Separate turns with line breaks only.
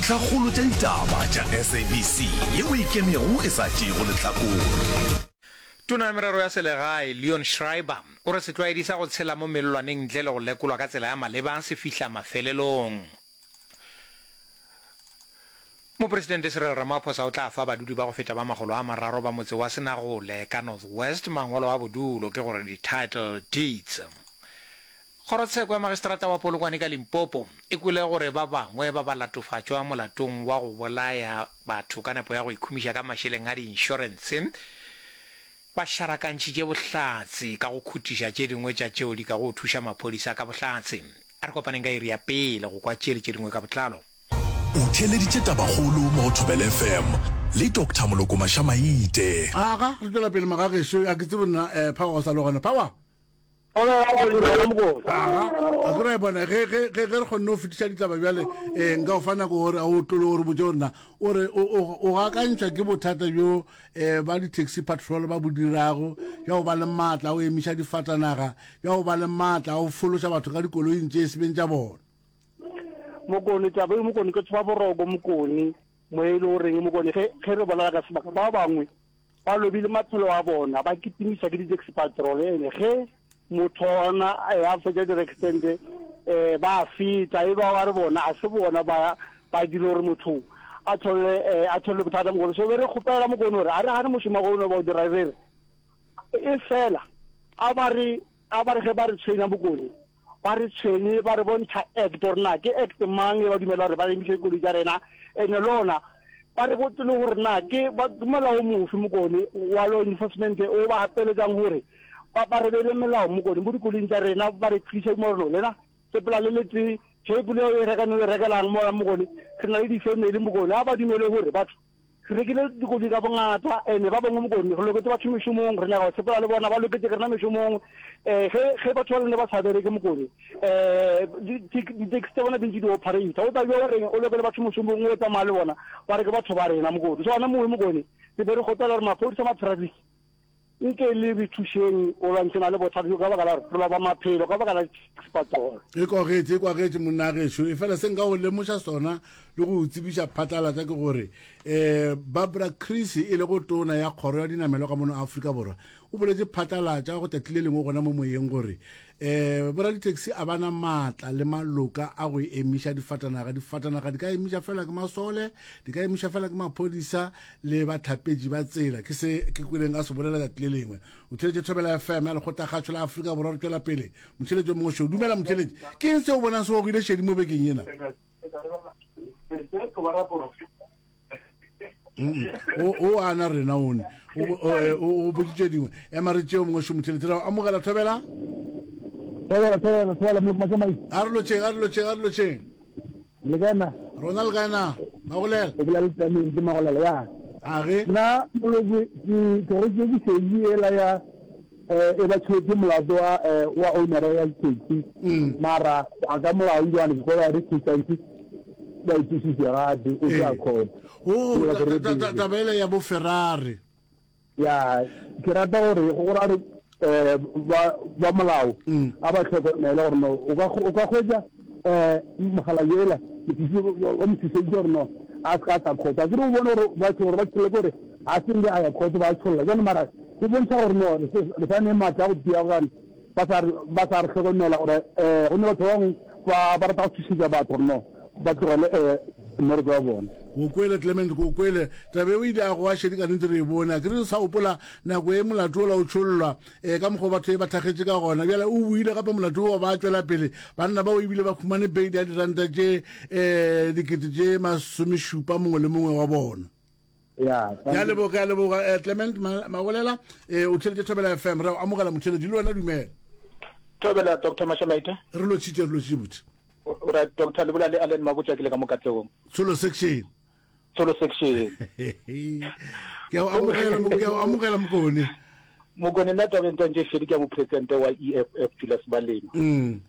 Dintlhakgolo tša ditaba tša SABC yeo e ikemego e sa tšeego lehlakore.
Tona ya Merero ya Selegae, Leon Schreiber, o re setlwaedi sa go tshela mo mellwaneng ntle le go lekolwa ka tsela ya maleba se fihla mafelelong. Mopresidente Cyril Ramaphosa o tla fa badudi ba go feta ba makgolo a mararo ba motse wa Senagole ka North West mangwalo a bodulo, ke gore di-title deeds. Kgorotsheko ya Magistrata wa Polokwane ka Limpopo e kwele gore ba bangwe ba balatofatšwa molatong wa go bolaya batho ka nepo ya go ikhumiša ka mašeleng a diinšorense ba šarakantšhitše bohlatse ka go khutiša tše dingwe tša tšeo di kago thuša maphodisa ka bohlatse. A re kopaneng ka iri ya pele go kwa tše le tše dingwe ka botlalo.
O theeleditše Tabakgolo mo go Thobela FM le Doctor Moloko Mašamaite.
Aga, re tšwela pele magagešo, a ke tsebe nna eh, Power o sa le gona. Power! Aga, a ke ra e bona ge ge ge ge re kgonne go fetiša ditaba bjale eh, nka o fa nako gore a o tlole gore botse gore na o re o o o gakantšwa ke bothata bjo eh, ba di-taxi patrol ba bo dirago bja go ba le maatla a go emiša difatanaga bja go ba le maatla a go fološa batho ka dikoloing tše e sebeng tša bona.
Mokone taba e mokone ke tshoba boroko mokone mo e le goreng mokone ge ge re bolela ka sebaka ba bangwe Ba lobile maphelo a bona, ba kitimiša ke di-taxi patrol. Ene ge motho ona a fetša di-accident um ba feta, e ba wa re bona a se bona ba ba dira gore motho a thole a thole bothata mokone. So be re kgopela mokone gore a re gane mošomo wa ba o dira re re e fela a ba re a ba re ge ba re tshwenya mokone Ba re tshwenye, ba re bontšha act gore na ke act mang e ba dumela gore ba emiše dikoloi tša rena, ene lona ba re botse le gore na ke molao mofe mokone wa law enforcement o ba gapeletšang gore ba ba re beele melao mokone mo dikoloing tša rena, ba re thuše mo re no lena sepela le le tee, ge koloi o e reka ne o e rekelang mola mokone re na le di-family mokone, a ba dumele gore batho Re rekile dikoloi ka bongata, ene ba bangwe mokone re loketše batho mešomong, re nyaka go sepela le bona, ba loketše ke rena mešomong. Um ge ge batho ba lene ba sa bereke mokone, um di-taxi tša bona di ntše di operator, o tla bja o reng o lokele batho mošomong o tsamaya le bona, ba re ke batho ba rena mokone. So gona mowe mokone re be re kgopela gore maphodisa ma-traffic Nke le re thušeng go lwantšhana le bothata bjo ka baka la gore re loba maphelo ka baka la di-taxi patrol.
E kwagetše, e kwagetše monna gešo. Efela se nka go lemoša sona le go o tsebiša phatlalatša ke gore um Barbara Creecy e lego tona ya kgoro ya dinamelwa ka mono Afrika Borwa o boletše phatlalatša go tšatši le lengwe gona mo moyeng gore um boraditheksi a ba na maatla le maloka a go emiša difatanaga. Difatanaga di ka emiša fela ke masole, di ka emiša fela ke maphodisa le bahlapetši ba tsela. Ke se ke kweleng a se bolela tšatši le lengwe. O theletše Thobela FM ya Lekgotlakgašo la Afrika Borwa. Re tšwela pele. Motheletši o mongwe šo. Dumela motheletši. Ke eng se o bonang se gogile šedi mo bekeng yena? O ana rena one. O boditše dingwe. Ema re tšeo mongwe šo motheletši. Re amogela Thobela.
Thobela, Thobela, Thobela,
A re lotšheng, a re lotšheng, a re lotšheng.
Le kae na?
Rona le kae na? Magolela.
O bolela le Tlameng ke Magolela ya.
A ge?
Nna moloko ke tlogetse ke šedi ela ya eh, e ba tšhotse molato wa eh, wa owner ya taxi. Mm. Mara a ka molao jwane ke kwa re taxi ba itšisitse gape o tla court.
Oh, taba ela ya bo Ferrari.
Ya, ke rata gore go ra re eh, ba ba molao mm. a ba tlhokomele gore no o ka o ka hwetša eh mogala yela o mo thuseditse gore no a se ka sa khotsa ke re o bone gore batho gore ba tšholle gore a se nge a ya khotsa ba tšholla jane mara go bontšha gore no re sa ne maatla a go tia gobane ba sa ba sa re hlokomela gore um go ne batho ba bangwe ba ba rata go thušetša batho gore no ba tlogele um mmereko wa bona.
Go kwele Clement, go kwele. Taba eo ile ya goa šedi ka nnete re e bone. A ke re sa gopola nako e molato ola o tšhollwa um ka mokgwa batho e ba thakgetše ka gona. Bjale o boile gape molato wa ba tšwela pele. Banna bao ebile ba khumane beile ya diranta tše um dikete tše masomešupa mongwe le mongwe wa bona.
Ya,
ya leboga ya leboga eh, Clement Magolela eh, o theletše Thobela FM re amogela motheletši le wena dumela.
Thobela Dr Mashamaite.
Re lotšhitše re lotšhitše botse.
O ra Dr Lebola le Allen Mabotja ke le ka mo Katlehong.
Tsholo section.
Tsholo section.
Ke a amogela ke a amogela mokone.
Mokone nna tabeng tsa ntše šedi ke ya mopresidente wa EFF Julius Malema.
Mm.